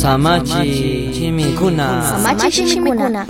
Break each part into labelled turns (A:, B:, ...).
A: Samachi shimikuna.
B: Samachi shimikuna.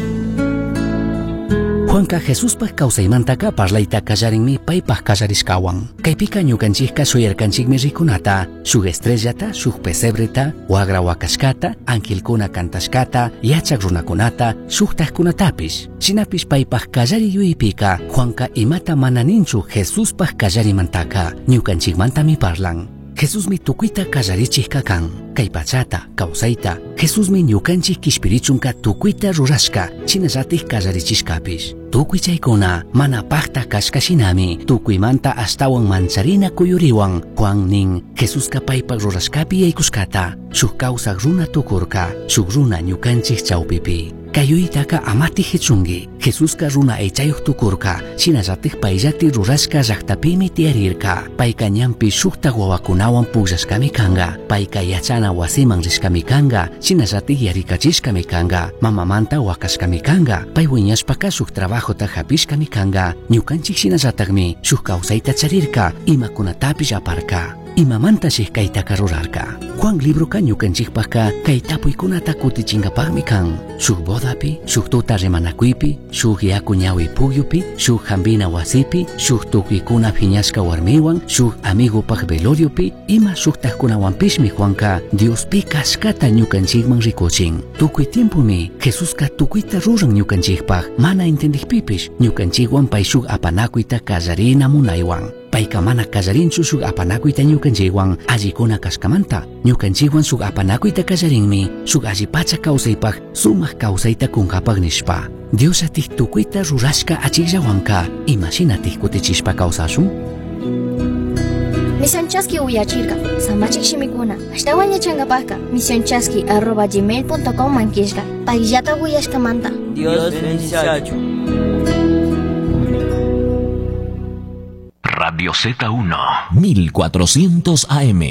C: Juanka Jesuspaj kawsaymantaka parlayta kallarinmi paypaj kallarishkawan. Kaypika ñukanchikka shuyarkanchikmi rikunata, shuk estrellata, shuk pesebreta, wagra wakashkata, angelkuna kantashkata, yachak runakunata, shuktajkunatapish. Shinapish paypaj kallari yuyaypika, Juanka imata mana ninchu Jesuspaj kallarimantaka, ñukanchikmantami parlan. Jesusmi tukuyta kallarichijka kan, kay pachata, kawsayta, Jesusmi ñukanchik kishpirichunka tukuyta rurashka, shinallatik kallarichishkapish. Tukuy chaykuna mana pakta kashka shinami, tukuymanta ashtawan mancharina kuyuriwan, Juan nin, Jesuska paypak rurashkapi yaykushkata, shuk kawsak runa tukurka, shuk runa ñukanchik chawpipi. Kayuytaka amati hichunki, Jesuska runa aychayuq tukurka, shinallatik payllati rurashka llaqtapimi tiyarirka, payka ñanpi shuktak wawakunawan pukllashkami kanka, payka yachana wasiman rishkami kanka, shinallatik yarikachishkami kanka, mamamanta wakashkami kanka, pay wiñashpaka shuk trabajota hapishkami kanka, ñukanchik shinallatakmi shuk kawsayta charirka, imakunatapish aparka. Imamantashi kaytaka rurarka. Juan libroka ñukanchikpaka kay tapuykunata kutichinkapakmi kan. Shuk bodapi, shuk tuta rimanakuypi, shuk yaku ñawi pukyupi, shuk hampina wasipi, shuk tukuykuna phiñashka warmiwan, shuk amigopaj veloriopi, ima shuktajkunawanpishmi Juanka Diospi kashkata ñukanchikman rikuchin. Tukuy tiempumi Jesuska tukuyta ruran ñukanchikpaj, mana entendikpipish ñukanchikwan pay shuk apanakuyta kallarina munaywan. Payka mana kallarinchu shuk apanakuyta ñukanchikwan allikuna kashkamanta, ñukanchikwan shuk apanakuyta kallarinmi, shuk allipacha kawsaypaj sumak kawsayta kunkapaj nishpa. Dios atik tukuyta rurashka achikllawanka, imashinatik kutichishpa kawsashun?
B: Misión Chaski uyachirka, samachik shimikuna, ashtawan yachankapajka, misionchaski@gmail.com mankishka, payllata uyashkamanta.
A: Dios bendiciachun.
D: Radio Z1.
E: 1400 AM.